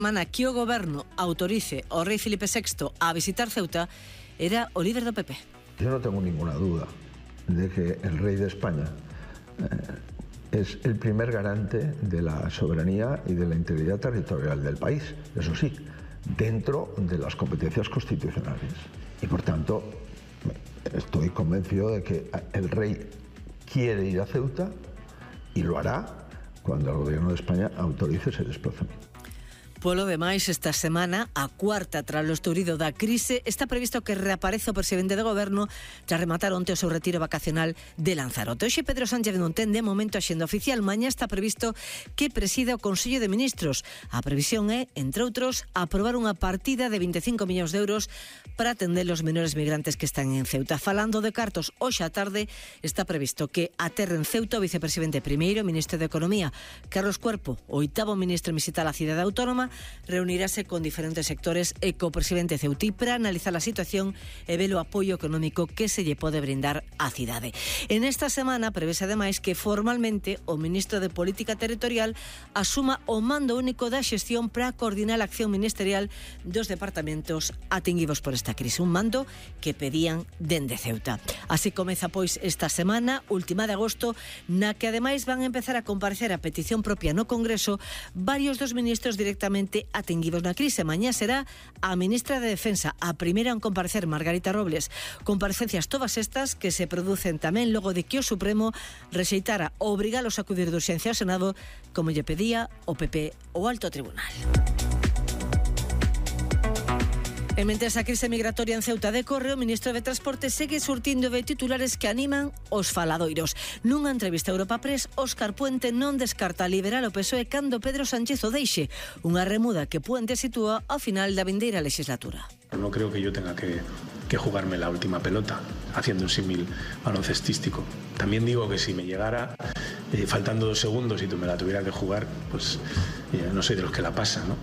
semana que o goberno autorice ao rei Filipe VI a visitar Ceuta era o líder do PP. Yo no tengo ninguna duda de que el rey de España es el primer garante de la soberanía y de la integridad territorial del país, eso sí, dentro de las competencias constitucionales. Y por tanto, estoy convencido de que el rey quiere ir a Ceuta y lo hará cuando el gobierno de España autorice ese desplazamiento. Polo demais, esta semana, a cuarta tras o estourido da crise, está previsto que reaparece o presidente do goberno tras rematar onte o seu retiro vacacional de Lanzarote. Hoxe Pedro Sánchez non ten de momento a xenda oficial. Mañá está previsto que presida o Consello de Ministros. A previsión é, entre outros, aprobar unha partida de 25 millóns de euros para atender os menores migrantes que están en Ceuta. Falando de cartos, hoxe á tarde está previsto que aterre en Ceuta o vicepresidente primeiro, ministro de Economía, Carlos Cuerpo, o oitavo ministro en visitar a cidade autónoma, reunirase con diferentes sectores e co presidente ceutí para analizar a situación e ver o apoio económico que se lle pode brindar á cidade. En esta semana prevese ademais que formalmente o ministro de Política Territorial asuma o mando único da xestión para coordinar a acción ministerial dos departamentos atinguidos por esta crise, un mando que pedían dende Ceuta. Así comeza pois esta semana, última de agosto, na que ademais van a empezar a comparecer a petición propia no Congreso varios dos ministros directamente atinguidos na crise. Mañá será a ministra de Defensa, a primeira en comparecer, Margarita Robles. Comparecencias todas estas que se producen tamén logo de que o Supremo rexeitara obrigalos a acudir de urxencia ao Senado, como lle pedía o PP o Alto Tribunal. E mentres a crise migratoria en Ceuta decorre, o ministro de Transporte segue surtindo de titulares que animan os faladoiros. Nunha entrevista a Europa Press, Óscar Puente non descarta liberar o PSOE cando Pedro Sánchez o deixe, unha remuda que Puente sitúa ao final da vindeira legislatura. No creo que yo tenga que jugarme la última pelota, haciendo un símil baloncestístico. También digo que si me llegara faltando 2 segundos y tú me la tuviera que jugar, pues no soy de los que la pasan, ¿no?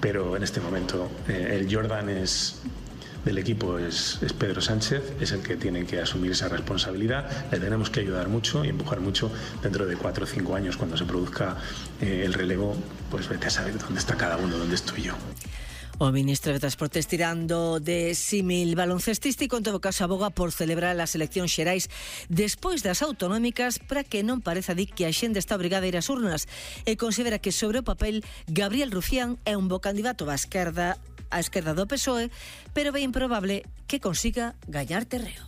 Pero en este momento el Jordan del equipo es Pedro Sánchez, es el que tiene que asumir esa responsabilidad. Le tenemos que ayudar mucho y empujar mucho. Dentro de 4 o 5 años, cuando se produzca el relevo, pues vete a saber dónde está cada uno, dónde estoy yo. O ministro de Transportes, tirando de símil baloncestístico, en todo caso aboga por celebrar as eleccións xerais despois das autonómicas para que non pareza di que a xente está obrigada a ir ás urnas, e considera que sobre o papel Gabriel Rufián é un bo candidato á esquerda do PSOE, pero é improbable que consiga gañar terreo.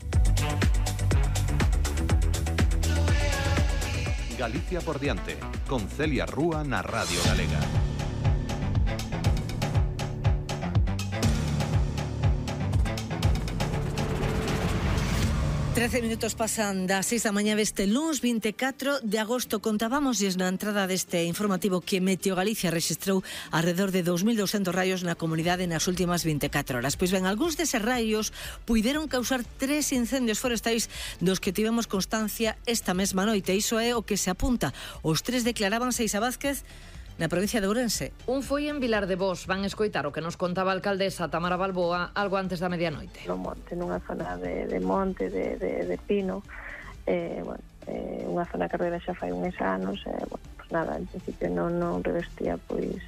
Galicia por diante, con Celia Rúa na Radio Galega. 13 minutos pasan das 6 da mañá deste luns 24 de agosto. Contábamosles na entrada deste informativo que Meteo Galicia rexistrou alrededor de 2.200 raios na comunidade nas últimas 24 horas. Pois ben, algúns deses raios puideron causar 3 incendios forestais dos que tivemos constancia esta mesma noite. Iso é o que se apunta. Os 3 declaraban Seixa Vázquez na provincia de Ourense. Un foi en Vilar de Bos. Van escoitar o que nos contaba a alcaldesa Tamara Balboa algo antes da medianoite. No monte, nunha zona de monte, de pino, unha zona que carreira xa fai uns anos, pues nada, en principio non revestía pois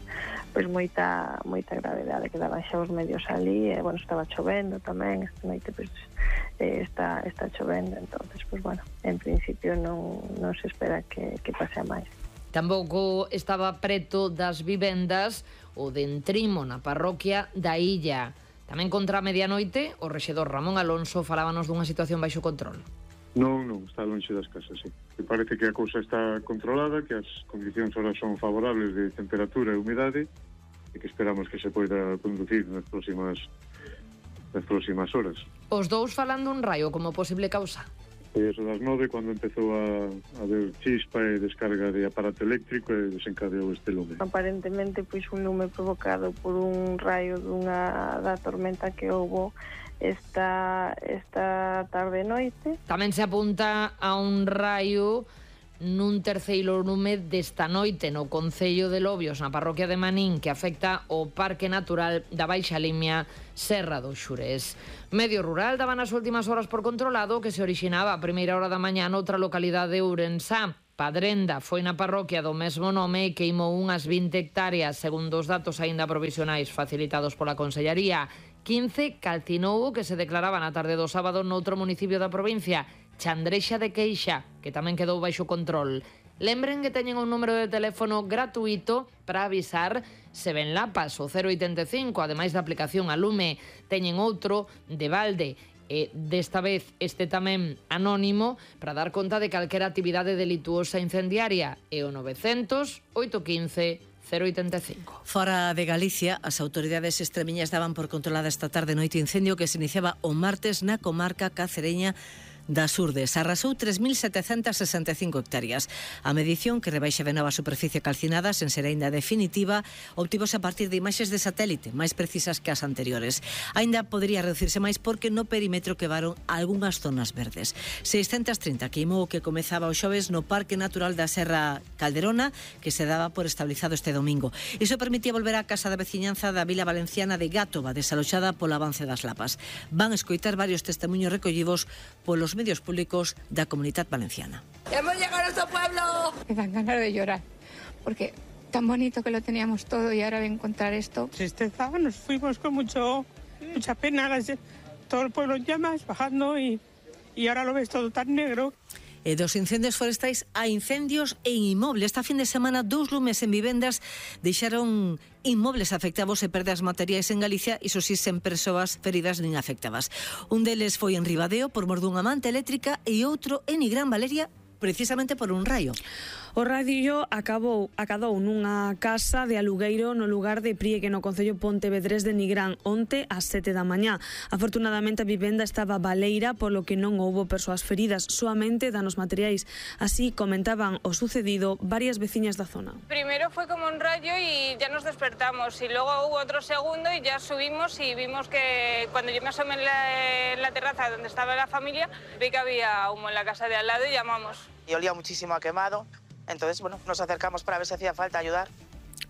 moita gravedade, que daban xa os medios ali, estaba chovendo tamén, esta noite pois está chovendo, entonces pues en principio non se espera que pase a máis. Tampouco estaba preto das vivendas o de Entrimo na parroquia da Illa. Tamén contra a medianoite, o rexedor Ramón Alonso falábanos dunha situación baixo control. Non, está lonxe das casas, sí. Me parece que a cousa está controlada, que as condicións ahora son favorables de temperatura e humidade e que esperamos que se poida conducir nas próximas horas. Os dous falando un raio como posible causa. Foi eso das 9 cando empezou a haber chispa e descarga de aparato eléctrico e desencadeou este lume. Aparentemente un lume provocado por un raio da tormenta que houbo esta tarde e noite. Tamén se apunta a un raio nun terceiro lume desta noite no concello de Lobios, na parroquia de Manín, que afecta o Parque Natural da Baixa Limia, Serra do Xurés. Medio Rural daba nas últimas horas por controlado que se orixinaba a primeira hora da mañá noutra localidade de Ourensá. Padrenda foi na parroquia do mesmo nome e queimou unhas 20 hectáreas, segundo os datos aínda provisionais facilitados pola Consellería. 15 calcinou o que se declaraba na tarde do sábado noutro municipio da provincia, Chandrexa de Queixa, que tamén quedou baixo control. Lembren que teñen un número de teléfono gratuito para avisar se ven lapas, o 085, ademais da aplicación a Lume. Teñen outro de balde, e desta vez este tamén anónimo, para dar conta de calquera actividade delituosa incendiaria, e o 900 815 085. Fora de Galicia, as autoridades extremiñas daban por controlada esta tarde noite incendio que se iniciaba o martes na comarca cacereña das Urdes. Arrasou 3.765 hectáreas. A medición, que rebaixa de nova a superficie calcinada sen ser aínda definitiva, obtivose a partir de imaxes de satélite máis precisas que as anteriores. Aínda podría reducirse máis porque no perímetro quedaron algunhas zonas verdes. 630 queimou o que comezaba o xoves no Parque Natural da Serra Calderona, que se daba por estabilizado este domingo. Iso permitía volver á casa da veciñanza da vila valenciana de Gátova, desaloxada polo avance das lapas. Van escoitar varios testemunhos recollidos polos medios públicos da Comunidade Valenciana. ¡Hemos llegado a nuestro pueblo! Me dan ganas de llorar, porque tan bonito que lo teníamos todo y ahora de encontrar esto. Tristeza, nos fuimos con mucha pena, todo el pueblo en llamas, bajando y ahora lo ves todo tan negro. Dos incendios forestais a incendios en inmobles. Esta fin de semana, 2 lumes en vivendas deixaron inmobles afectados e perdas materiais en Galicia, iso si sen persoas feridas nin afectadas. Un deles foi en Ribadeo por mor dunha manta eléctrica e outro en Nigrán, Valeria, precisamente por un raio. O raio acadou nunha casa de alugueiro no lugar de Priegue, no concello Pontevedrés de Nigrán, onte ás 7 da mañá. Afortunadamente a vivenda estaba baleira, polo que non houbo persoas feridas, soamente danos materiais. Así comentaban o sucedido varias veciñas da zona. Primero fue como un rayo y ya nos despertamos, y luego hubo otro segundo y ya subimos y vimos que cuando yo me asomé en la terraza donde estaba la familia, vi que había humo en la casa de al lado y llamamos. Y olía muchísimo a quemado. Entonces, bueno, nos acercamos para ver si hacía falta ayudar.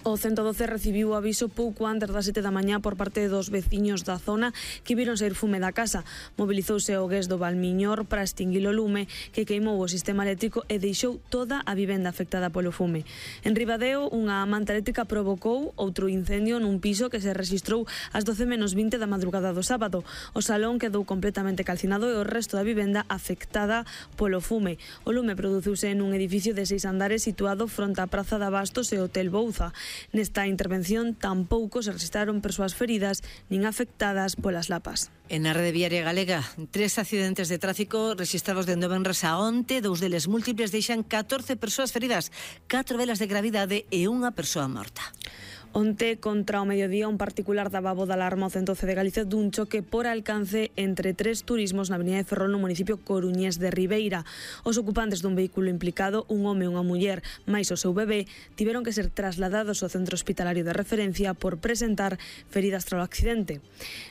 O 112 recibiu o aviso pouco antes das 7 da mañá por parte dos veciños da zona que viron sair fume da casa. Mobilizouse o GES do Valmiñor para extinguir o lume que queimou o sistema eléctrico e deixou toda a vivenda afectada polo fume. En Ribadeo, unha manta eléctrica provocou outro incendio nun piso que se rexistrou ás 12:20 da madrugada do sábado. O salón quedou completamente calcinado e o resto da vivenda afectada polo fume. O lume produciuse nun edificio de 6 andares situado fronte á Praza de Abastos e Hotel Bouza. Nesta intervención tampouco se registraron persoas feridas nin afectadas polas lapas. En a rede viaria galega, 3 accidentes de tráfico registrados dende o venres a onte, 2 deles múltiples deixan 14 persoas feridas, 4 delas de gravidade e unha persoa morta. Onte, contra o mediodía, un particular daba voz de alarma ao 112 de Galicia dun choque por alcance entre 3 turismos na avenida de Ferrol no municipio coruñés de Ribeira. Os ocupantes dun vehículo implicado, un home e unha muller, máis o seu bebé, tiveron que ser trasladados ao centro hospitalario de referencia por presentar feridas tras o accidente.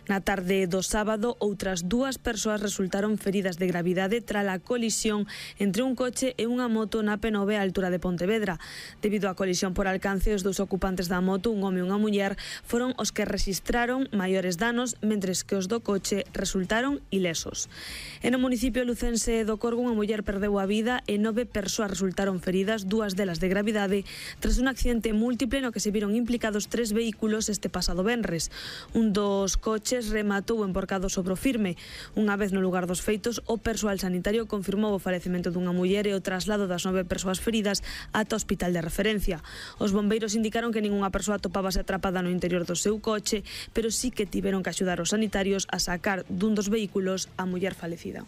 Na tarde do sábado, outras 2 persoas resultaron feridas de gravidade tras a colisión entre un coche e unha moto na P9 á altura de Pontevedra. Debido á colisión por alcance, os 2 ocupantes da moto, un home e unha muller, foron os que rexistraron maiores danos, mentres que os do coche resultaron ilesos. En o municipio lucense do Corgo, unha muller perdeu a vida e 9 persoas resultaron feridas, 2 delas de gravidade, tras un accidente múltiple no que se viron implicados 3 vehículos este pasado venres. Un dos coches rematou enporcado sobre o firme. Unha vez no lugar dos feitos, o persoal sanitario confirmou o falecemento dunha muller e o traslado das 9 persoas feridas ata o hospital de referencia. Os bombeiros indicaron que ningunha persoa atopábase atrapada no interior do seu coche, pero sí que tiveron que axudar os sanitarios a sacar dun dos vehículos a muller falecida.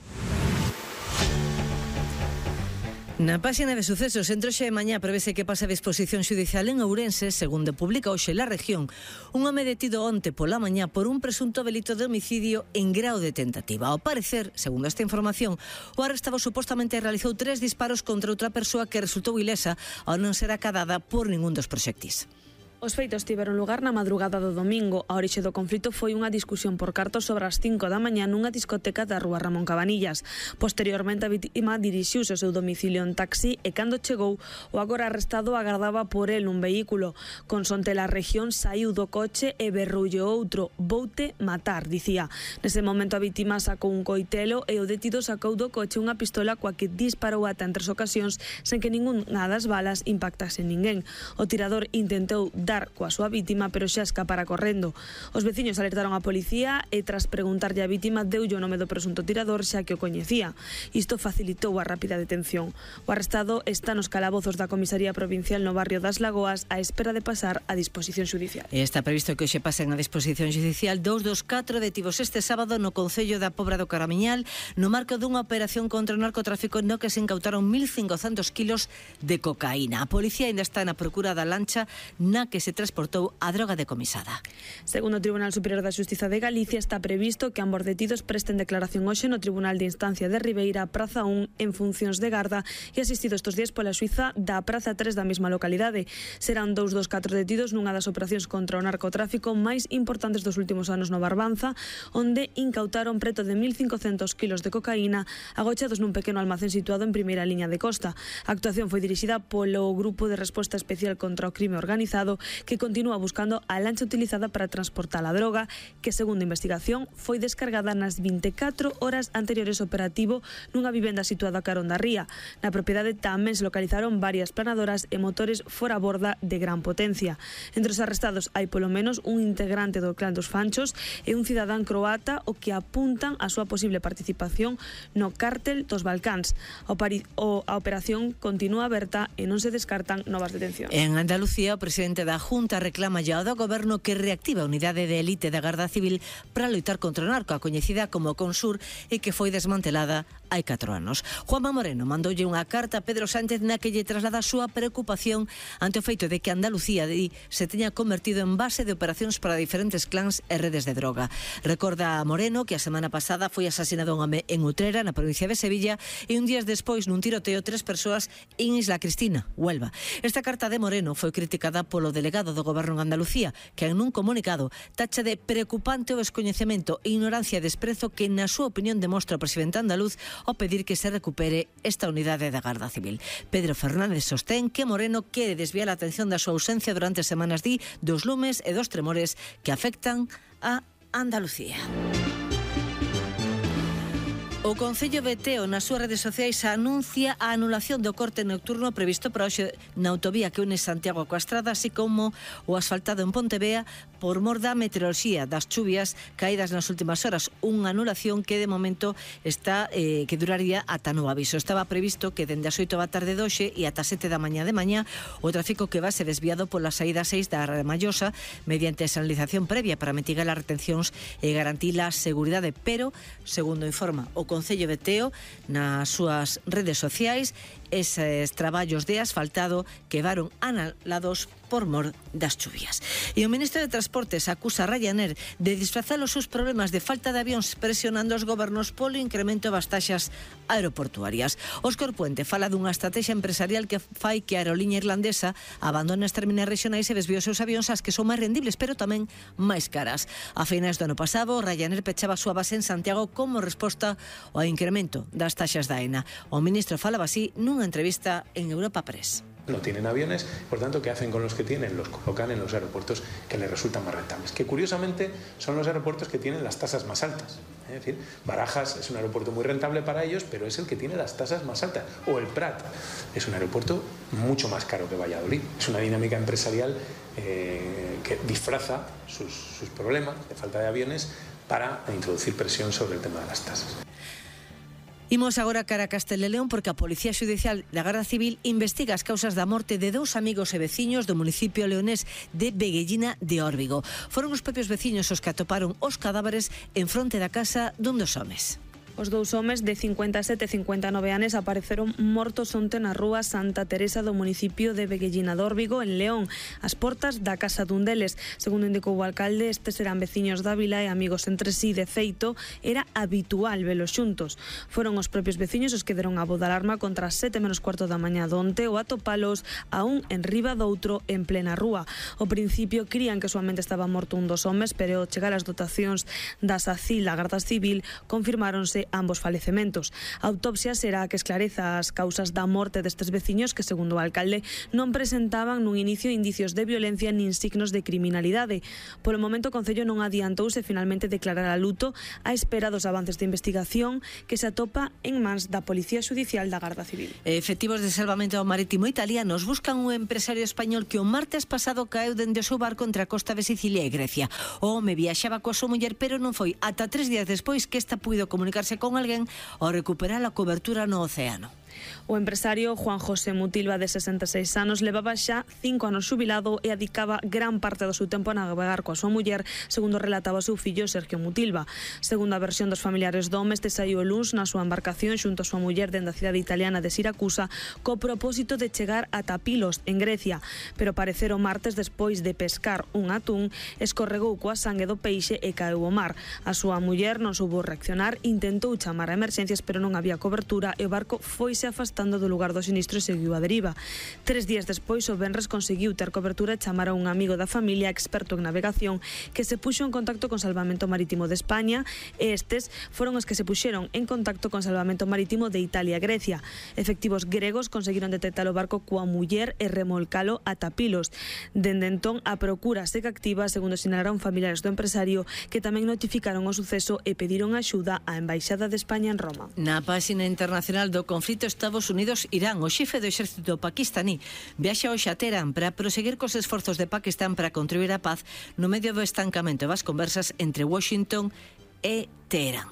Na páxina de sucesos, entre hoxe e mañá prevese que pase a disposición xudicial en Ourense, segundo publica hoxe La Región, un home detido onte pola mañá por un presunto delito de homicidio en grao de tentativa. Ao parecer, segundo esta información, o arrestado supostamente realizou 3 disparos contra outra persoa que resultou ilesa ao non ser acadada por ningún dos proxectis. Os feitos tiveron lugar na madrugada do domingo. A orixe do conflito foi unha discusión por cartos sobre as 5 da mañá nunha discoteca da rúa Ramón Cabanillas. Posteriormente, a vítima dirixiuse ao seu domicilio en taxi e cando chegou, o agora arrestado agardaba por el nun vehículo. Consonte la región, saiu do coche e berroulle outro: "Voute matar", dicía. Nese momento a vítima sacou un coitelo e o detido sacou do coche unha pistola coa que disparou ata en 3 ocasións sen que ningunha das balas impactase en ninguén. O tirador intentou dar coa súa vítima, pero xa escapara correndo. Os veciños alertaron a policía e tras preguntarlle a vítima deulle o nome do presunto tirador xa que o coñecía. Isto facilitou a rápida detención. O arrestado está nos calabozos da Comisaría Provincial no barrio das Lagoas á espera de pasar a disposición xudicial. Está previsto que hoxe pasen a disposición xudicial 2 dos 4 detidos este sábado no concello da Pobra do Caramiñal no marco dunha operación contra o narcotráfico no que se incautaron 1.500 kilos de cocaína. A policía ainda está na procura da lancha na que se transportou a droga decomisada. Segundo o Tribunal Superior da Xustiza de Galicia, está previsto que ambos detidos presten declaración hoxe no Tribunal de Instancia de Ribeira, Praza 1, en funcións de garda e asistido estes días pola xuíza da Praza 3 da mesma localidade. Serán 2 dos 4 detidos nunha das operacións contra o narcotráfico máis importantes dos últimos anos no Barbanza, onde incautaron preto de 1.500 kilos de cocaína agochados nun pequeno almacén situado en primeira liña de costa. A actuación foi dirixida polo Grupo de Resposta Especial contra o Crime Organizado, que continúa buscando a lancha utilizada para transportar a droga, que segundo a investigación foi descargada nas 24 horas anteriores ao operativo nunha vivenda situada a carón da ría. Na propiedade tamén se localizaron varias planadoras e motores fora borda de gran potencia. Entre os arrestados hai polo menos un integrante do clan dos Fanchos e un cidadán croata o que apuntan a súa posible participación no cártel dos Balcáns. A operación continúa aberta e non se descartan novas detencións. En Andalucía, o presidente da Junta reclama ya ao goberno que reactive a unidade de élite da Garda Civil para loitar contra o narco, a coñecida como Consur, e que foi desmantelada hai 4 anos. Juanma Moreno mandoulle unha carta a Pedro Sánchez na que lle traslada a súa preocupación ante o feito de que Andalucía se teña convertido en base de operacións para diferentes clans e redes de droga. Recorda a Moreno que a semana pasada foi asasinado un home en Utrera, na provincia de Sevilla, e un días despois nun tiroteo 3 persoas en Isla Cristina, Huelva. Esta carta de Moreno foi criticada polo delegado do Goberno en Andalucía, que en un comunicado tacha de preocupante o descoñecemento e ignorancia e desprezo que na súa opinión demostra o presidente andaluz ao pedir que se recupere esta unidade da Garda Civil. Pedro Fernández sostén que Moreno quere desviar a atención da súa ausencia durante semanas dos lumes e dos tremores que afectan a Andalucía. O Concello de Teo nas súas redes sociais anuncia a anulación do corte nocturno previsto para hoxe na autovía que une Santiago coa Estrada, así como o asfaltado en Pontevea por mor da meteoroloxía das chuvias caídas nas últimas horas. Unha anulación que de momento está que duraría ata novo aviso. Estaba previsto que dende as 8 da tarde de hoxe e ata 7 da mañá o tráfico que va ser desviado pola saída 6 da Ramallosa mediante a sinalización previa para mitigar as retencións e garantir a seguridade, pero, segundo informa o Concello de Teo nas súas redes sociais, eses traballos de asfaltado quedaron anulados por mor das chuvias. E o ministro de Transportes acusa a Ryanair de disfrazar os seus problemas de falta de avións presionando os gobernos polo incremento das taxas aeroportuarias. Óscar Puente fala dunha estrategia empresarial que fai que a aeroliña irlandesa abandone as terminais regionais e desvíe os seus avións ás que son máis rendibles, pero tamén máis caras. A finais do ano pasado, Ryanair pechaba a súa base en Santiago como resposta ao incremento das taxas da AENA. O ministro falaba así nunha entrevista en Europa Press. No tienen aviones, por tanto, ¿qué hacen con los que tienen? Los colocan en los aeropuertos que les resultan más rentables, que curiosamente son los aeropuertos que tienen las tasas más altas. Es decir, Barajas es un aeropuerto muy rentable para ellos, pero es el que tiene las tasas más altas. O el Prat es un aeropuerto mucho más caro que Valladolid. Es una dinámica empresarial que disfraza sus problemas de falta de aviones para introducir presión sobre el tema de las tasas. Imos agora cara a Castela e León porque a Policía Xudicial da Garda Civil investiga as causas da morte de 2 amigos e veciños do municipio leonés de Veguellina de Órbigo. Foron os propios veciños os que atoparon os cadáveres en fronte da casa dun dos homes. Os dous homes de 57 e 59 anos apareceron mortos onte na rúa Santa Teresa do municipio de Veguellina Dórbigo, en León, ás portas da casa dun deles. Segundo indicou o alcalde, estes eran veciños da vila e amigos entre sí. De feito, era habitual velos xuntos. Foron os propios veciños os que deron a voz de alarma contra as 7:15 da mañá donte ou atopalos a un en riba doutro en plena rúa. Ao principio crían que soamente estaba morto un dos homes, pero ao chegar as dotacións da SACIL, a Garda Civil, confirmáronse ambos falecementos. A autopsia será a que esclareza as causas da morte destes veciños que, segundo o alcalde, non presentaban nun inicio indicios de violencia nin signos de criminalidade. Polo momento, o Concello non adiantouse finalmente declarar a luto á espera dos avances de investigación que se atopa en mans da Policía Xudicial da Garda Civil. Efectivos de salvamento marítimo italianos buscan un empresario español que o martes pasado caeu dende o seu barco entre a costa de Sicilia e Grecia. O home viaxaba coa súa muller, pero non foi ata 3 días despois que esta puido comunicarse con alguén ao recuperar a cobertura no océano. O empresario Juan José Mutilva, de 66 anos, levaba xa 5 anos xubilado e adicaba gran parte do seu tempo a navegar coa súa muller, segundo relataba o seu fillo Sergio Mutilva. Segundo a versión dos familiares do home, este saiu o luns na súa embarcación xunto a súa muller dende a cidade italiana de Siracusa co propósito de chegar a Tapilos, en Grecia, pero parecer o martes, despois de pescar un atún, escorregou coa sangue do peixe e caeu ao mar. A súa muller non soubo reaccionar, intentou chamar a emerxencias, pero non había cobertura e o barco foise afastando do lugar do sinistro e seguiu a deriva. 3 días despois, o venres conseguiu ter cobertura e chamar a un amigo da familia, experto en navegación, que se puxo en contacto con Salvamento Marítimo de España, e estes foron os que se puxeron en contacto con Salvamento Marítimo de Italia e Grecia. Efectivos gregos conseguiron detectar o barco coa muller e remolcalo a Tapilos. Dende entón, a procura segue activa, segundo sinalaron familiares do empresario, que tamén notificaron o suceso e pediron axuda á Embaixada de España en Roma. Na páxina internacional do conflito Estados Unidos-Irán, o xefe do exército paquistaní viaxa hoxe a Teherán para proseguir cos esforzos de Pakistán para contribuir á paz no medio do estancamento das conversas entre Washington e Teherán.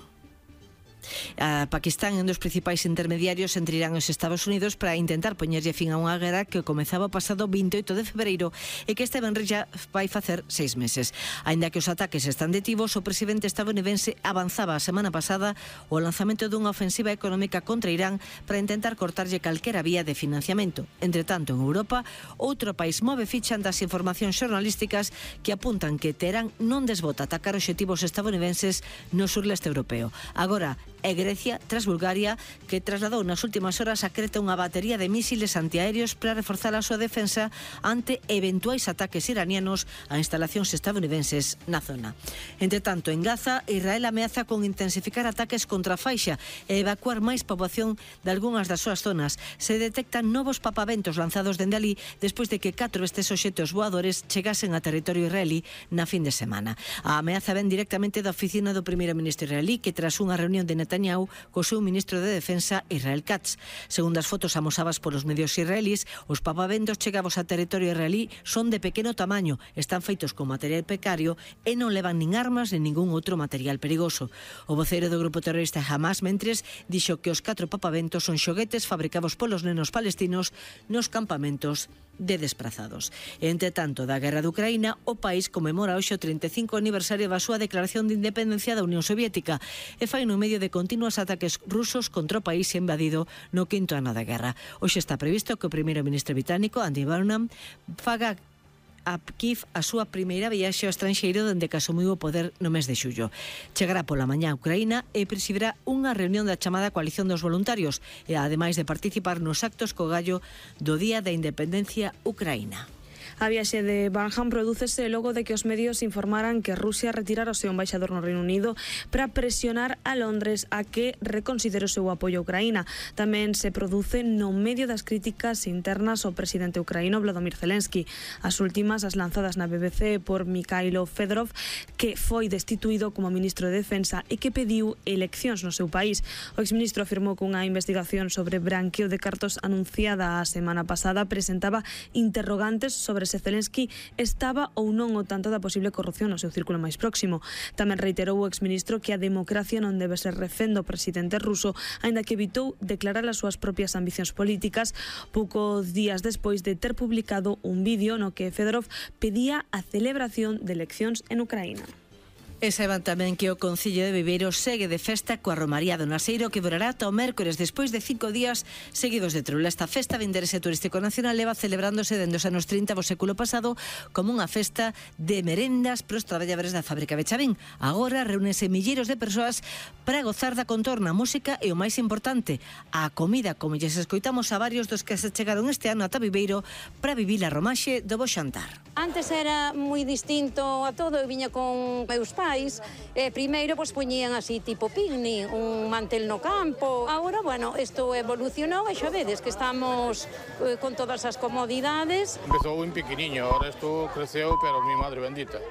A Pakistán é un dos principais intermediarios entre Irán e os Estados Unidos para intentar poñerlle fin a unha guerra que comezaba o pasado 28 de febreiro e que este venres já vai facer 6 meses. Aínda que os ataques están detivos, o presidente estadounidense avanzaba a semana pasada o lanzamento dunha ofensiva económica contra Irán para intentar cortarlle calquera vía de financiamento. Entre tanto, en Europa, outro país move ficha das informacións xornalísticas que apuntan que Teherán non desbota atacar obxectivos estadounidenses no surleste europeo. Agora, é Grecia, tras Bulgaria, que trasladou nas últimas horas a Creta unha batería de mísiles antiaéreos para reforzar a súa defensa ante eventuais ataques iranianos a instalacións estadounidenses na zona. Entre tanto, en Gaza, Israel ameaza con intensificar ataques contra a faixa e evacuar máis poboación de algunhas das súas zonas. Se detectan novos papaventos lanzados dende ali despois de que 4 destes obxectos voadores chegasen a territorio israelí na fin de semana. A ameaza ven directamente da oficina do primeiro ministro israelí, que tras unha reunión de Netanyahu co seu ministro de Defensa, Israel Katz. Segundo as fotos amosadas polos medios israelís, os papaventos chegados a territorio israelí son de pequeno tamaño, están feitos con material precario e non levan nin armas nin ningún outro material perigoso. O voceiro do grupo terrorista Hamas, mentres, dixo que os 4 papaventos son xoguetes fabricados polos nenos palestinos nos campamentos de desplazados. Entre tanto, da guerra de Ucraína, o país conmemora hoxe o 35 aniversario da súa declaración de independencia da Unión Soviética e fai no medio de continuos ataques rusos contra o país invadido no 5º ano da guerra. Hoxe está previsto que o primeiro ministro británico, Andy Burnham, faga a Kiev a súa primeira viaxe ao estranxeiro dende que asumiu o poder no mes de xullo. Chegará pola mañá a Ucraína e presidirá unha reunión da chamada Coalición dos Voluntarios e ademais de participar nos actos co gallo do Día da Independencia Ucraína. A viaxe de Burnham prodúcese logo de que os medios informaran que Rusia retirara o seu embaixador no Reino Unido para presionar a Londres a que reconsidere o seu apoio a Ucraína. Tamén se produce no medio das críticas internas ao presidente ucraíno Volodymyr Zelensky. As últimas, as lanzadas na BBC por Mikhailo Fedorov, que foi destituído como ministro de Defensa e que pediu eleccións no seu país. O exministro afirmou que unha investigación sobre branqueo de cartos anunciada a semana pasada presentaba interrogantes sobre se Zelensky estaba ou non ao tanto da posible corrupción no seu círculo máis próximo. Tamén reiterou o exministro que a democracia non debe ser refén do presidente ruso, aínda que evitou declarar as súas propias ambicións políticas poucos días despois de ter publicado un vídeo no que Fedorov pedía a celebración de eleccións en Ucraína. E saiban tamén que o Concello de Viveiro segue de festa coa Romaría do Naseiro, que durará ata o mércores despois de 5 días seguidos de trula. Esta festa de interese turístico nacional leva celebrándose dende os anos 30 do século pasado como unha festa de merendas para os traballadores da fábrica de Chavín. Agora reúnense milleiros de persoas para gozar da contorna, música e o máis importante, a comida, como lles escoitamos a varios dos que se chegaron este ano ata Viveiro para vivir a romaxe do bo xantar. Antes era moi distinto a todo, eu viña con meus pais, primeiro pois poñían así tipo picnic, un mantel no campo. Agora, bueno, isto evolucionou e xa vedes que estamos con todas as comodidades. Empezou un pequeniño, ahora isto creceu, pero mi madre bendita.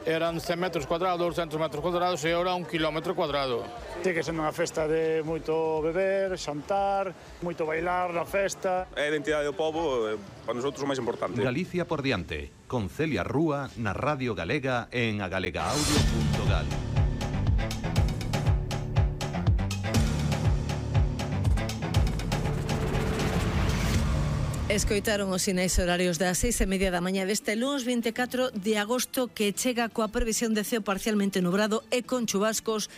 Eran 100 metros cuadrados, 200 metros cuadrados e ahora 1 kilómetro cuadrado. Ten que ser unha festa de moito beber, xantar, moito bailar na festa. É a identidade do pobo, para nosotros o máis importante. Galicia por diante, con Celia Rúa na Radio Galega en agalegaaudio.gal. Escoitaron os sinais horarios das 6:30 da mañá deste lunes 24 de agosto, que chega coa previsión de ceo parcialmente nubrado e con chubascos,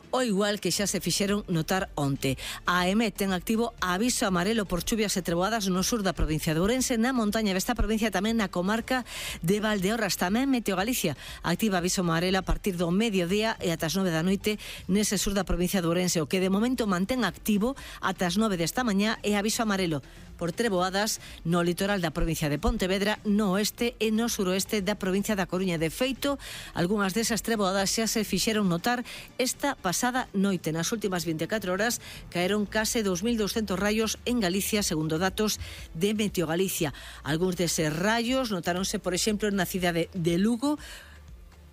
o igual que xa se fixeron notar onte. A AEMET ten activo aviso amarelo por chuvias e treboadas no sur da provincia de Ourense, na montaña desta provincia, tamén na comarca de Valdeorras. Tamén Meteo Galicia activa aviso amarelo a partir do mediodía e ata as 9 da noite nese sur da provincia de Ourense. O que de momento mantén activo ata as 9 desta mañá é aviso amarelo por treboadas no litoral da provincia de Pontevedra, no oeste e no suroeste da provincia da Coruña. De feito, algunhas desas treboadas xa se fixeron notar esta pasada noite. Nas últimas 24 horas caeron case 2.200 raios en Galicia, segundo datos de Meteo Galicia. Algúns deses raios notáronse, por exemplo, na cidade de Lugo,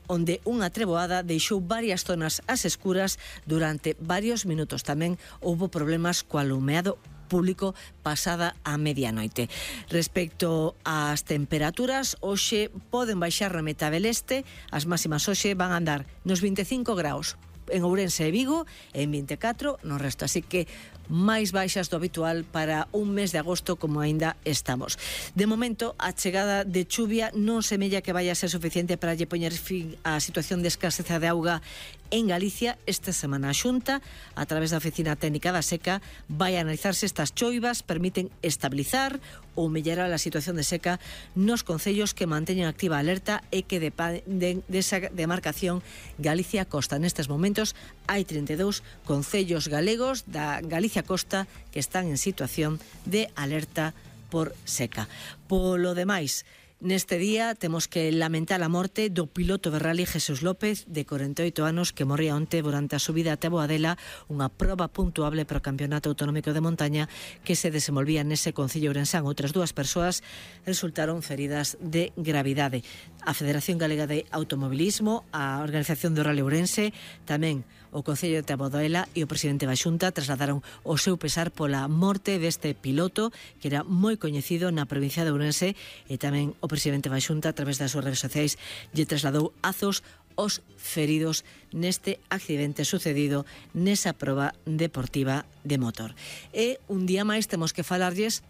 onde unha treboada deixou varias zonas ás escuras durante varios minutos. Tamén houbo problemas co alumeado público pasada a medianoite. Respecto ás temperaturas, hoxe poden baixar na metade leste, as máximas hoxe van a andar nos 25 graus en Ourense e Vigo, en 24 no resto, así que máis baixas do habitual para un mes de agosto como aínda estamos. De momento, a chegada de chuvia non semella que vaya a ser suficiente para lle poñer fin á situación de escaseza de auga en Galicia. Esta semana a Xunta, a través da Oficina Técnica da Seca, vai a analizar se estas choivas permiten estabilizar ou mellorar a situación de seca nos concellos que manteñen activa a alerta e que dependen desa demarcación Galicia Costa. Nestes momentos hai 32 concellos galegos da Galicia Costa que están en situación de alerta por seca. Polo demais, neste día temos que lamentar a morte do piloto de rally Jesús López, de 48 anos, que morría onte durante a subida até Boadela, unha proba puntuable para o Campeonato Autonómico de Montaña que se desenvolvía nese concello ourensán. Outras dúas persoas resultaron feridas de gravidade. A Federación Galega de Automobilismo, a Organización do Rally Ourense, tamén o Concello de Boadela e o presidente da Xunta trasladaron o seu pesar pola morte deste piloto, que era moi coñecido na provincia de Ourense, e tamén o presidente da Xunta, a través das súas redes sociais, lle trasladou azos os feridos neste accidente sucedido nesa proba deportiva de motor. E un día máis temos que falarlles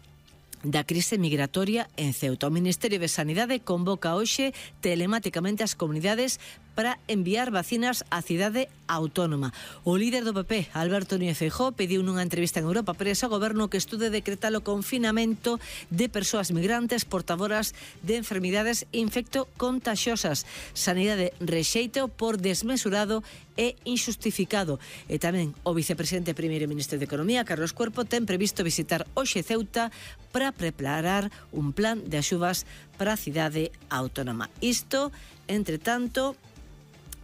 da crise migratoria en Ceuta. O Ministerio de Sanidade convoca hoxe telemáticamente as comunidades para enviar vacinas á cidade autónoma. O líder do PP, Alberto Núñez Feijóo, pediu nunha entrevista en Europa Press ao goberno que estude decretar o confinamento de persoas migrantes portadoras de enfermidades infectocontaxiosas. Sanidade rexeita por desmesurado e injustificado. E tamén o vicepresidente e primeiro ministro de Economía, Carlos Cuerpo, ten previsto visitar hoxe Ceuta para preparar un plan de axudas para a cidade autónoma. Isto, entre tanto,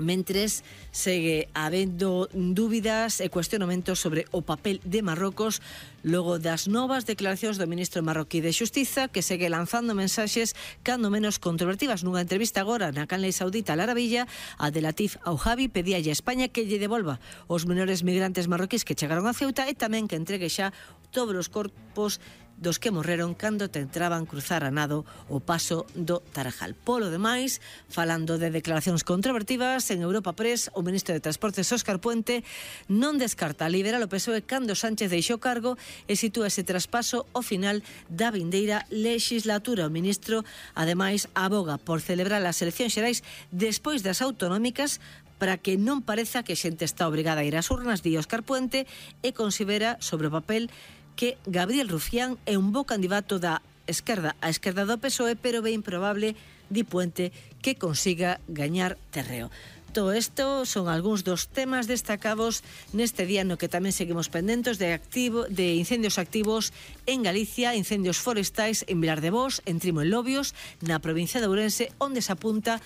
mentres segue habendo dúbidas e cuestionamentos sobre o papel de Marrocos logo das novas declaracións do ministro marroquí de Xustiza, que segue lanzando mensaxes cando menos controvertidas. Nunha entrevista agora na canle saudita Al Arabilla, Abdelatif Aujabi pedíalle a España que lle devolva os menores migrantes marroquís que chegaron a Ceuta e tamén que entregue xa todos os corpos dos que morreron cando tentaban cruzar a nado o paso do Tarajal. Polo demais, falando de declaracións controvertidas, en Europa Press, o ministro de Transportes Óscar Puente non descarta liberar o PSOE cando Sánchez deixou cargo e sitúa ese traspaso ao final da vindeira legislatura. O ministro, ademais, aboga por celebrar as eleccións xerais despois das autonómicas para que non pareza que xente está obrigada a ir ás urnas, di Óscar Puente, e considera sobre o papel que Gabriel Rufián é un bo candidato da esquerda a esquerda do PSOE, pero é improbable, di Puente, que consiga gañar terreo. Todo isto son algúns dos temas destacados neste día no que tamén seguimos pendentes de incendios activos en Galicia, incendios forestais en Vilar de Bos, en Trimo en Lobios, na provincia de Ourense, onde se apunta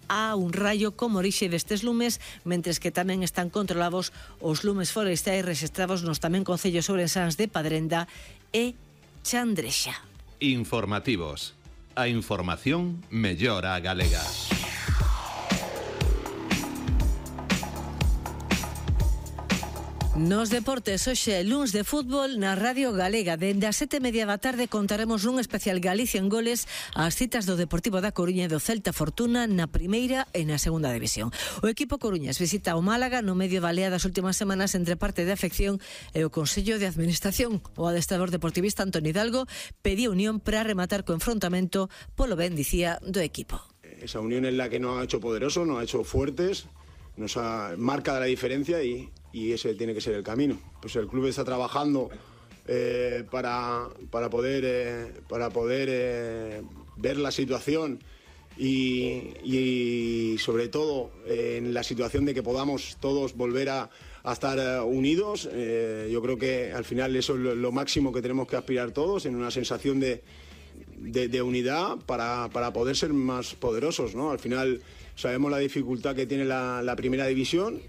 a un raio como orixe destes lumes, mentres que tamén están controlados os lumes forestais rexistrados nos tamén concellos ourensáns de Padrenda e Chandrexa. Informativos. A información mellora a galega. Nos deportes, hoxe luns de fútbol na Radio Galega. Dende as 7:30 da tarde contaremos nun especial Galicia en goles as citas do Deportivo da Coruña e do Celta Fortuna na primeira e na segunda división. O equipo coruñés visita o Málaga no medio da lea das últimas semanas entre parte de afección e o Consello de Administración. O adestrador deportivista Antonio Hidalgo pedía unión para rematar co enfrontamento polo ben, dicía, do equipo. Esa unión es la que nos ha hecho poderosos, nos ha hecho fuertes, nos marca la diferencia y ese tiene que ser el camino. Pues el club está trabajando para poder ver la situación y sobre todo en la situación de que podamos todos volver a estar unidos. Yo creo que al final eso es lo máximo que tenemos que aspirar todos, en una sensación de unidad para poder ser más poderosos, ¿no? Al final sabemos la dificultad que tiene la primera división.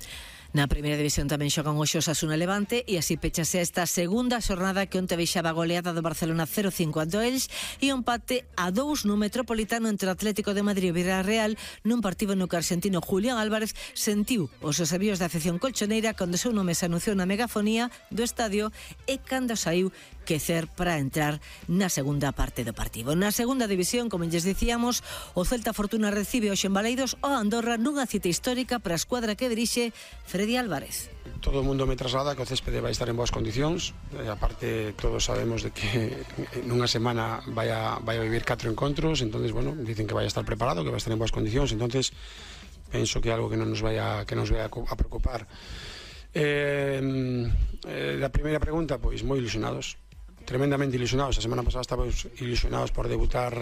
Na primeira división tamén xogan hoxe Osasuna Levante e así pechase esta segunda xornada que onte veixaba a goleada do Barcelona 0-5 ante o Elx e un empate a 2 no Metropolitano entre o Atlético de Madrid e o Villarreal nun partido no que o argentino Julián Álvarez sentiu os avíos da afección colchoneira cando seu nome se anunciou na megafonía do estadio e cando saiu quecer para entrar na segunda parte do partido. Na segunda división, como lles dicíamos, o Celta Fortuna recibe hoxe en Baleidos o Andorra nunha cita histórica para a escuadra que dirixe Freddy Álvarez. Todo o mundo me traslada que o céspede vai estar en boas condicións, aparte todos sabemos de que nunha semana vai a vivir 4 encontros, entonces bueno, dicen que vai a estar preparado, que vai a estar en boas condicións, entonces penso que é algo que non nos vai a preocupar. Da primeira pregunta, pois moi ilusionados, tremendamente ilusionados. A semana pasada estábamos ilusionados por debutar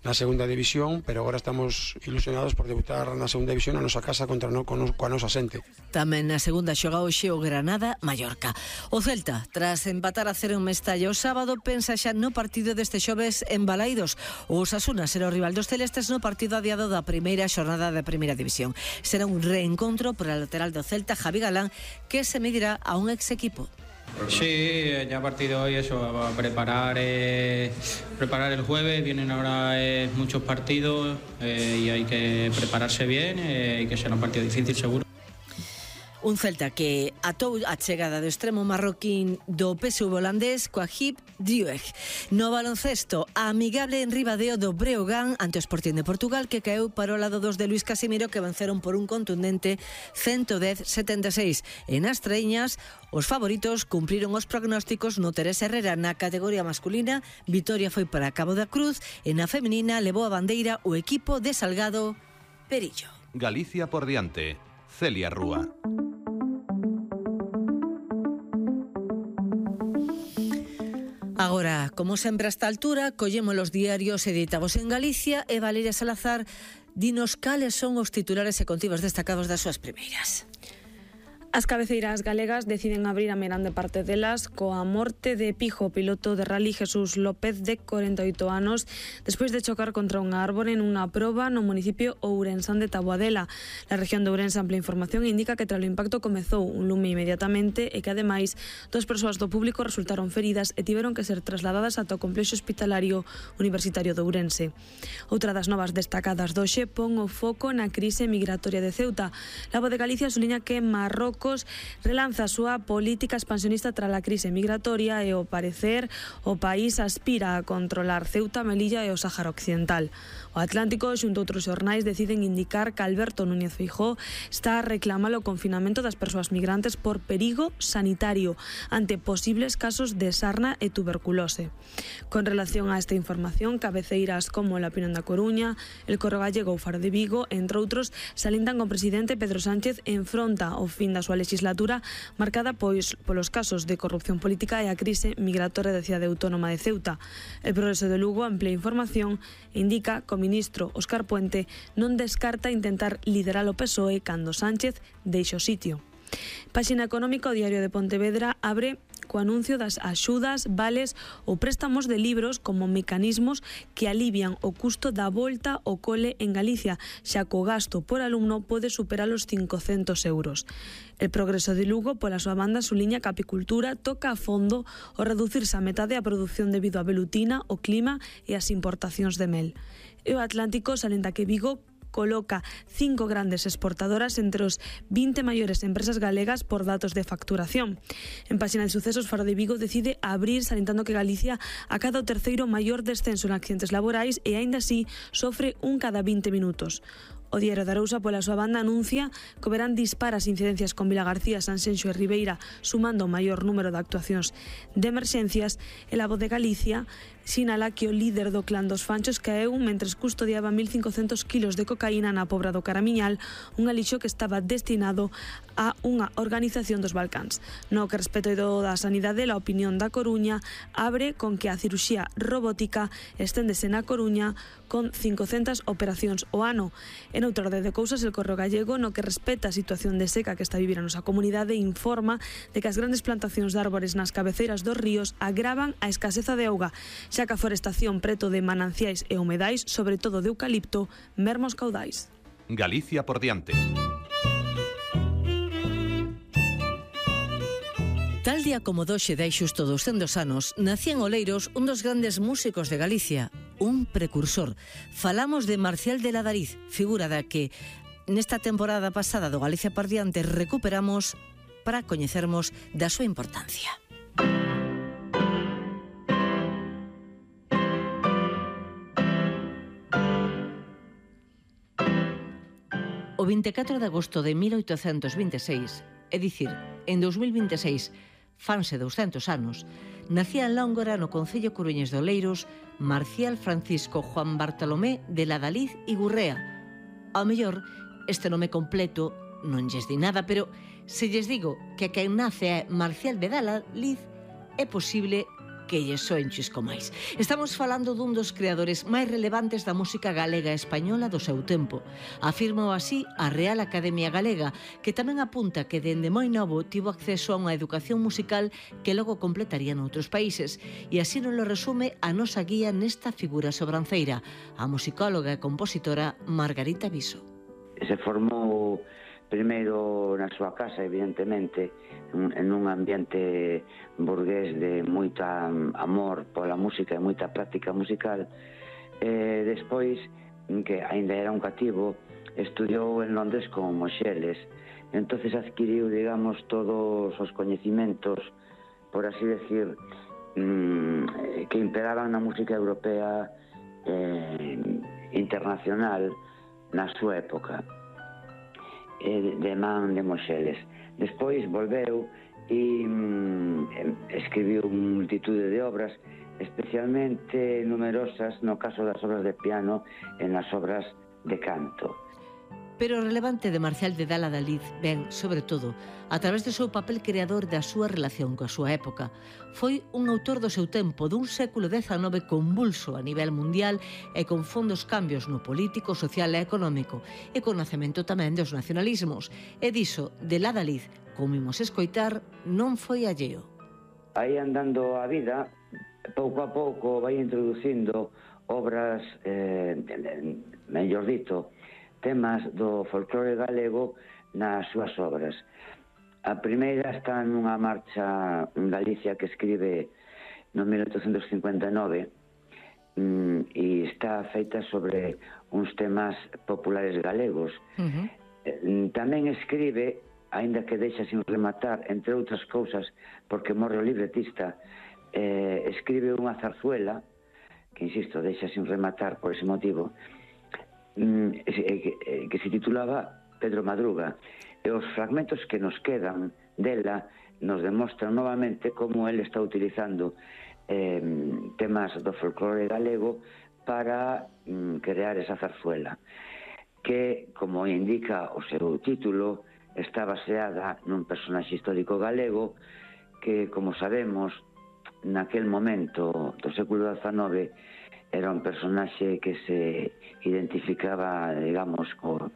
na segunda división, pero agora estamos ilusionados por debutar na segunda división na nosa casa coa nosa xente. Tamén na segunda xoga hoxe o Granada-Mallorca. O Celta, tras empatar a 0 en Mestalla o sábado, pensa xa no partido deste xoves en Balaídos. O Osasuna será o rival dos celestes no partido adiado da primeira xornada da primeira división. Será un reencontro por a lateral do Celta, Javi Galán, que se medirá a un ex equipo. Sí, ya a partir de hoy eso, a preparar el jueves, vienen ahora muchos partidos y hay que prepararse bien y que será un partido difícil seguro. Un Celta que atou a chegada do extremo marroquín do PSV holandés Coahib Driouech. No baloncesto, a amigable en Ribadeo do Breogán ante o Sporting de Portugal, que caeu para o lado dos de Luis Casimiro, que venceron por un contundente 110-76. En as traíñas, os favoritos cumpriron os prognósticos no Teresa Herrera. Na categoría masculina, vitoria foi para Cabo da Cruz e na feminina levou a bandeira o equipo de Salgado Perillo. Galicia por diante. Celia Rúa. Agora, como sempre a esta altura, collemos os diarios editados en Galicia e Valeria Salazar dinos cales son os titulares e contivos destacados das súas primeiras. As cabeceiras galegas deciden abrir a meirande parte delas coa morte de Pijo, piloto de rally Jesús López, de 48 anos, despois de chocar contra unha árbore nunha proba no municipio ourensán de Taboadela. La región de Ourense Ampla Información indica que tras o impacto comezou un lume inmediatamente e que ademais 2 persoas do público resultaron feridas e tiveron que ser trasladadas ata o complexo hospitalario universitario de Ourense. Outra das novas destacadas doxe pon o foco na crise migratoria de Ceuta. La Voz de Galicia suliña que Marrocos Marrocos relanza a súa política expansionista tras a crise migratoria e, ao parecer, o país aspira a controlar Ceuta, Melilla e o Sáhara Occidental. O Atlántico, xunto a outros xornais, deciden indicar que Alberto Núñez Feijóo está a reclamar o confinamento das persoas migrantes por perigo sanitario ante posibles casos de sarna e tuberculose. Con relación a esta información, cabeceiras como La Opinión da Coruña, El Correo Gallego ou Faro de Vigo, entre outros, salientan que o presidente Pedro Sánchez enfronta o fin da súa legislatura marcada polos casos de corrupción política e a crise migratoria da cidade autónoma de Ceuta. El Progreso de Lugo amplía información e indica que o ministro Óscar Puente non descarta intentar liderar o PSOE cando Sánchez deixe o sitio. Páxina económica, o Diario de Pontevedra abre co anuncio das axudas, vales ou préstamos de libros como mecanismos que alivian o custo da volta ao cole en Galicia, xa que o gasto por alumno pode superar os 500 euros. El Progreso de Lugo, pola súa banda, suliña que a apicultura toca a fondo o reducirse a metade a produción debido á velutina, o clima e as importacións de mel. E o Atlántico salenta que Vigo coloca 5 grandes exportadoras entre os 20 maiores empresas galegas por datos de facturación. En páxina de sucesos, Faro de Vigo decide abrir salientando que Galicia acada o terceiro maior descenso en accidentes laborais e aínda así sofre un cada 20 minutos. O Diario de Arousa, pola súa banda, anuncia que o verán dispara as incidencias con Vilagarcía, Sanxenxo e Ribeira, sumando o maior número de actuacións de emerxencias, e La Voz de Galicia sinala que o líder do clan dos Fanchos caeu mentres custodiaba 1.500 kilos de cocaína na Pobra do Caramiñal, un alixo que estaba destinado a unha organización dos Balcáns. No que respecto da sanidade, La Opinión da Coruña abre con que a cirurxía robótica esténdese na Coruña con 500 operacións ao ano. En outra orde de cousas, El Correo Gallego, no que respecta a situación de seca que está a vivir a nosa comunidade, informa de que as grandes plantacións de árbores nas cabeceiras dos ríos agravan a escaseza de auga, xa que a forestación preto de mananciais e humedais, sobre todo de eucalipto, merma os caudais. Galicia por diante. Tal día como doxe dai xusto 200 anos, nacía en Oleiros un dos grandes músicos de Galicia, un precursor. Falamos de Marcial de Ladariz, figura da que nesta temporada pasada do Galicia por diante recuperamos para coñecermos da súa importancia. O 24 de agosto de 1826, é dicir, en 2026, fanse 200 anos, nacía en Lóngora, no concello coruñés de Oleiros, Marcial Francisco Juan Bartolomé de Ladariz e Gurrea. Ao mellor, este nome completo non lles di nada, pero se lles digo que a quen nace é Marcial de Ladariz, é posible que lles soen chisco máis. Estamos falando dun dos creadores máis relevantes da música galega e española do seu tempo. Afirmou así a Real Academia Galega, que tamén apunta que dende moi novo tivo acceso a unha educación musical que logo completaría noutros países, e así nos lo resume a nosa guía nesta figura sobranceira, a musicóloga e compositora Margarita Viso. Se formou primeiro na súa casa, evidentemente, en un ambiente burgués de moita amor pola música e moita práctica musical. Despois, que aínda era un cativo, estudiou en Londres con Moxeles. Entonces adquiriu, digamos, todos os coñecimentos, por así decir, que imperaban na música europea internacional na súa época, de man de Moxeles. Despois volveu e escribiu multitude de obras, especialmente numerosas no caso das obras de piano e nas obras de canto. Pero o relevante de Marcial de Ladariz ven, sobre todo, a través do seu papel creador da súa relación coa súa época. Foi un autor do seu tempo, dun século XIX convulso a nivel mundial e con fondos cambios no político, social e económico, e con nacemento tamén dos nacionalismos. E diso, de Ladariz, como imos escoitar, non foi alleo. Aí andando a vida, pouco a pouco vai introducindo obras, mellor dito, temas do folclore galego nas súas obras. A primeira está nunha marcha en Galicia que escribe no 1859 e está feita sobre uns temas populares galegos. Tamén escribe aínda que deixa sin rematar, entre outras cousas, porque morre o libretista, escribe unha zarzuela, que, insisto, deixa sin rematar por ese motivo, que se titulaba Pedro Madruga. E os fragmentos que nos quedan dela nos demostran novamente como ele está utilizando temas do folclore galego para crear esa zarzuela, que, como indica o seu título, está baseada nun personaxe histórico galego que, como sabemos, naquel momento do século XIX era un personaxe que se identificaba, digamos, co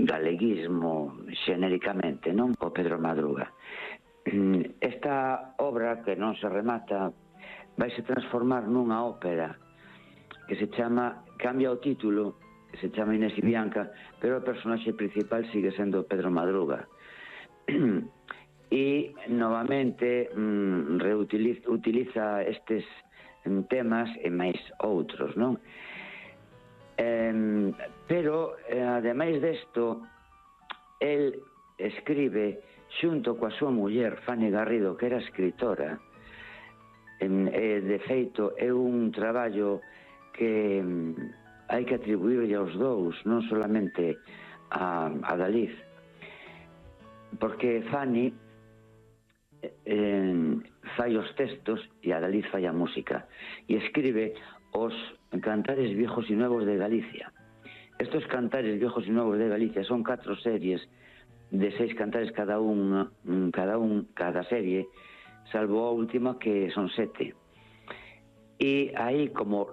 galeguismo xenéricamente, non? O Pedro Madruga. Esta obra, que non se remata, vaise transformar nunha ópera que se chama, cambia o título, que se chama Inés y Bianca, pero o personaxe principal sigue sendo Pedro Madruga. E novamente utiliza estes temas e máis outros, non? Pero, ademais desto, el escribe xunto coa súa muller Fanny Garrido, que era escritora. De feito, é un traballo que hai que atribuirlle aos dous, non solamente a Dalí, porque Fanny fai os textos e a Dalí fai a música, e escribe os Cantares Viejos y Nuevos de Galicia. Estos Cantares Viejos y Nuevos de Galicia son 4 series de 6 cantares cada serie, salvo a última, que son 7. E aí, como